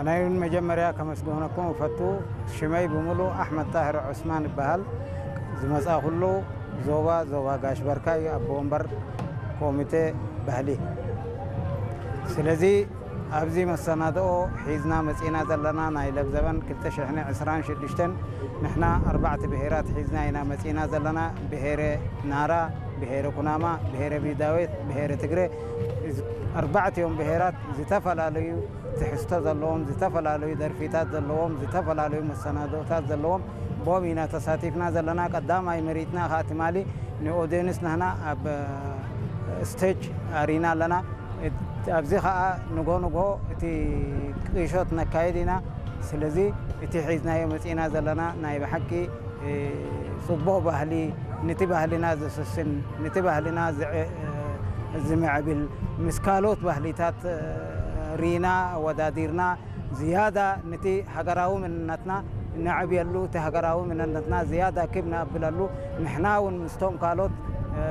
ናይ መጀመርያ ከመስግነኩም እፈቱ። ሽመይ ብምሉእ ኣሕመድ ጣህር ዑስማን ይበሃል። ዝመጻእኩሉ ዞባ፣ ዞባ ጋሽ በርካ እዩ፣ ኣቦ ወንበር ኮሚቴ ባህሊ። ስለዚ ኣብዚ መሰናድኦ ሒዝና መጺና ዘለና ናይ ለብዘበን ክልተ ሽሕን ዕስራን ሽዱሽተን ንሕና ኣርባዕተ ብሄራት ሒዝና ኢና መጺና ዘለና። ብሄረ ናራ፣ ብሄረ ኩናማ፣ ብሄረ ቢዳዌት፣ ብሄረ ትግረ። እዚ ኣርባዕቲኦም ብሄራት ዝተፈላለዩ ትሕዝቶ ዘለዎም፣ ዝተፈላለዩ ደርፊታት ዘለዎም፣ ዝተፈላለዩ መሰናድኦታት ዘለዎም ቦም ኢና ተሳቲፍና ዘለና። ቀዳማይ መሪጽና ከኣ ትማሊ ንኦድየንስ ናህና ኣብ ስቴጅ ኣሪና ኣለና። እት-፣ ኣብዚ ከኣ ንጎ ንጎ እቲ ቅሾት ነካይድ ኢና። ስለዚ እቲ ሒዝናዮ መጺእና ዘለና ናይ ብሓቂ፣ እ፣ ጽቡቕ ባህሊ፣ ነቲ ባህልና ዘስስን፣ ነቲ ባህልና ዝዕ-፣ እ፣ ዝምዕብል፣ ምስ ካልኦት ባህሊታት፣ እ፣ ሪና ኣወዳዲርና ዝያዳ ነቲ ሃገራዊ መንነትና ነዕብየሉ፣ እቲ ሃገራዊ መንነትና ዝያዳ ክብ ነኣብለሉ፣ ንሕና እውን ምስቶም ካልኦት፣ እ፣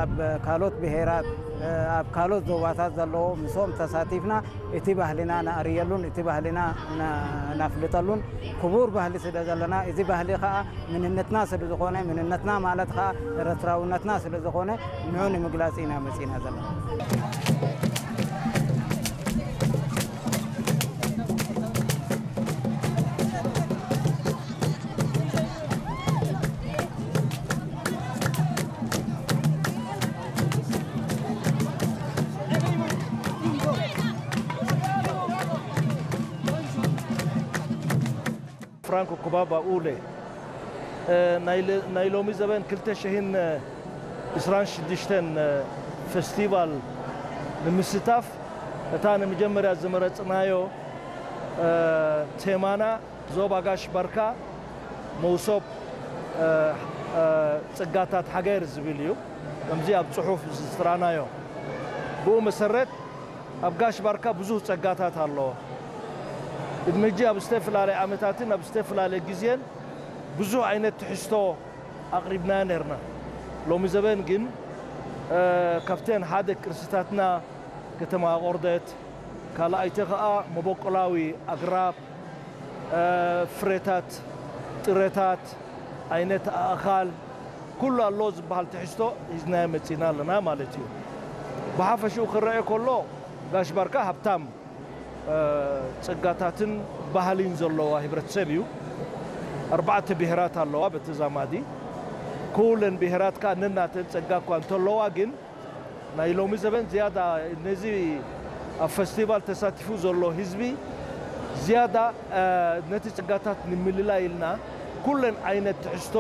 ኣብ ካልኦት ብሄራት፣ እ፣ ኣብ ካልኦት ዞባታት ዘለዎ ምስኦም ተሳቲፍና እቲ ባህልና ነኣርየሉን እቲ ባህልና ነ-፣ ነፍልጠሉን ክቡር ባህሊ ስለ ዘለና፣ እዚ ባህሊ ኸኣ መንነትና ስለ ዝኾነ፣ መንነትና ማለት ኸኣ ኤርትራውነትና ስለ ዝኾነ፣ ንዑ ንምግላጽ ኢና መጺእና ዘለና። ፍራንኮ ኩባባ ኡለ፣ እ፣ ናይ ለ-፣ ናይ ሎሚ ዘበን ክልተ ሽሕን ዕስራን ሽዱሽተን፣ እ፣ ፈስቲቫል ንምስታፍ እታ ንመጀመርያ ዝመረጽናዮ፣ እ፣ ቴማና ዞባ ጋሽ ባርካ መውሶብ፣ እ፣ እ፣ ጽጋታት ሃገር ዝብል እዩ። ከምዚ ኣብ ጽሑፍ ዝጥራናዮ። ብኡ መሰረት ኣብ ጋሽ ባርካ ብዙህ ጸጋታት ኣለዎ። ቅድሚ ሕጂ ኣብ ዝተፈላለየ ዓመታትን ኣብ ዝተፈላለየ ግዜን ብዙህ ዓይነት ትሕዝቶ ኣቕሪብና ነርና። ሎሚ ዘበን ግን፣ እ፣ ካብተን ሓደ ቅርስታትና ከተማ ኣቖርደት፣ ካልኣይቲ ኸኣ መበቆላዊ ኣግራብ፣ እ፣ ፍሬታት፣ ጥረታት፣ ዓይነት ኣእኻል፣ ኩሉ ኣሎ ዝበሃል ትሕዝቶ ሒዝናዮ መጺና ኣለና ማለት እዩ። ብሓፈሽኡ ክረአ ከሎ ጋሽ ባርካ ሃብታም፣ እ፣ ጸጋታትን ባህሊን ዘለዋ ህብረተሰብ እዩ። ኣርባዕተ ብሄራት ኣለዋ በተዛማዲ። ኩለን ብሄራት ከኣ ነናተን ጸጋ እኳ እንተለዋ ግን ናይ ሎሚ ዘበን ዝያዳ ነዚ ኣብ ፈስቲቫል ተሳቲፉ ዘሎ ህዝቢ ዝያዳ፣ እ፣ ነቲ ጽጋታት ንምልላይ ኢልና ኩለን ዓይነት ትሕዝቶ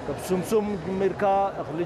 ካብ ስምሱም ጀሚርካ እኽሊ